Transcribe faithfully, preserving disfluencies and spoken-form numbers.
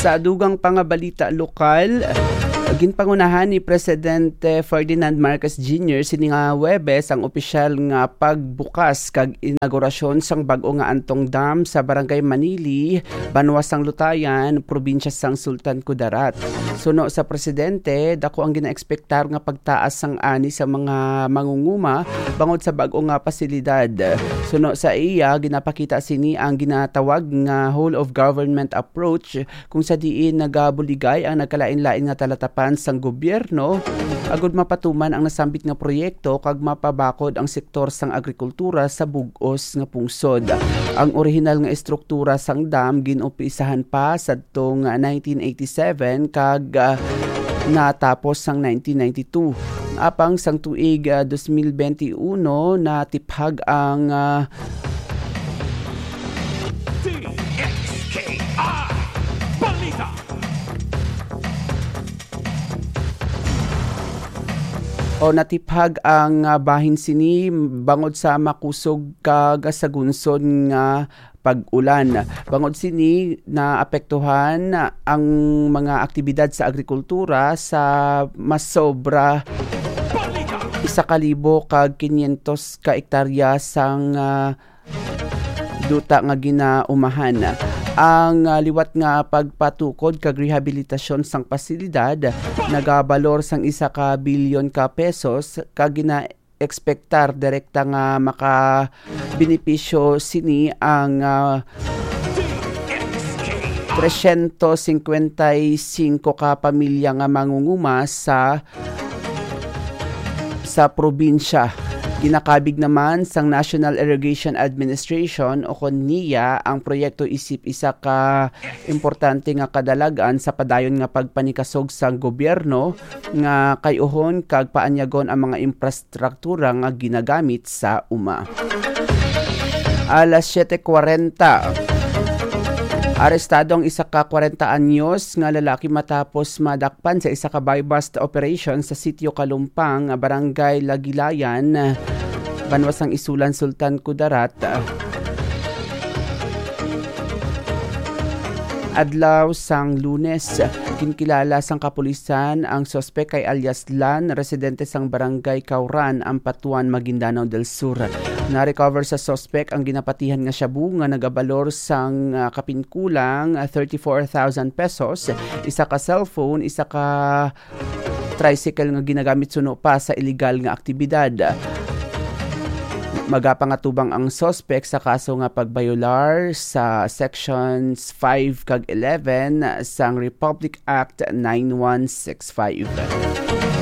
Sa dugang pa nga balita lokal, ginpangunahan ni Presidente Ferdinand Marcos Junior sini nga Huwebes ang opisyal nga pagbukas kag inaugurasyon sang bag-o nga Antong Dam sa Barangay Manili, Banwa sang Lutayan, Probinsya sang Sultan Kudarat. Suno sa presidente, dako ang ginaekspektar nga pagtaas sang ani sa mga mangunguma bangod sa bag-o nga pasilidad. Suno sa iya, ginapakita sini ang ginatawag nga whole of government approach, kung sa diin nagabuligay ang nagkalain-lain nga talatapan sang gobyerno agud mapatuman ang nasambit nga proyekto kag mapabakod ang sektor sang agrikultura sa bug-os nga pungsod. Ang orihinal nga estruktura sang dam gin-umpisahan pa sadtong nineteen eighty-seven kag, ah, natapos sang nineteen ninety-two. Apang sang tuig, ah, dos mil benti uno, natiphag ang, ah, D X K I Balita. O natiphag ang, ah, bahin sini bangod sa makusog kag sagunsod nga pag-ulan. Bangod sini, naapektuhan ang mga aktibidad sa agrikultura sa mas sobra isa ka libo kag kinyentos ka ektarya sang, ah, duta nga ginaumahan. Ang, ah, liwat nga pagpatukod kag rehabilitasyon sang pasilidad nagabalor sang isa ka bilyon ka pesos kag gina-ekspektar direkta nga makabenepisyo sini ang, ah, trescientos cincuenta y cinco ka pamilya nga mangunguma sa sa probinsya. Ginakabig naman sang National Irrigation Administration o kon NIA ang proyekto isip isa ka importante nga kadalagan sa padayon nga pagpanikasog sang gobyerno nga kay-uhon kag paanyagon ang mga infrastruktura nga ginagamit sa uma. Alas siete cuarenta. Arestado ang isa ka kwarenta anyos nga lalaki matapos madakpan sa isa ka buy-bust operation sa Sitio Kalumpang, Barangay Lagilayan, Banwa sang Isulan, Sultan Kudarat. Adlaw sang Lunes, ginkilala sang kapulisan ang suspek kay alias Lan, residente sang Barangay Kauran, Ampatuan, Maguindanao del Sur. Na-recover sa suspek ang ginapatihan nga shabu nga nagabalor sang, ah, kapinkulang, ah, thirty-four thousand pesos, isa ka cellphone, isa ka tricycle nga ginagamit suno pa sa illegal nga aktibidad. Magapangatubang ang suspek sa kaso nga pagbayolar sa Sections five kag eleven sang Republic Act nine one six five.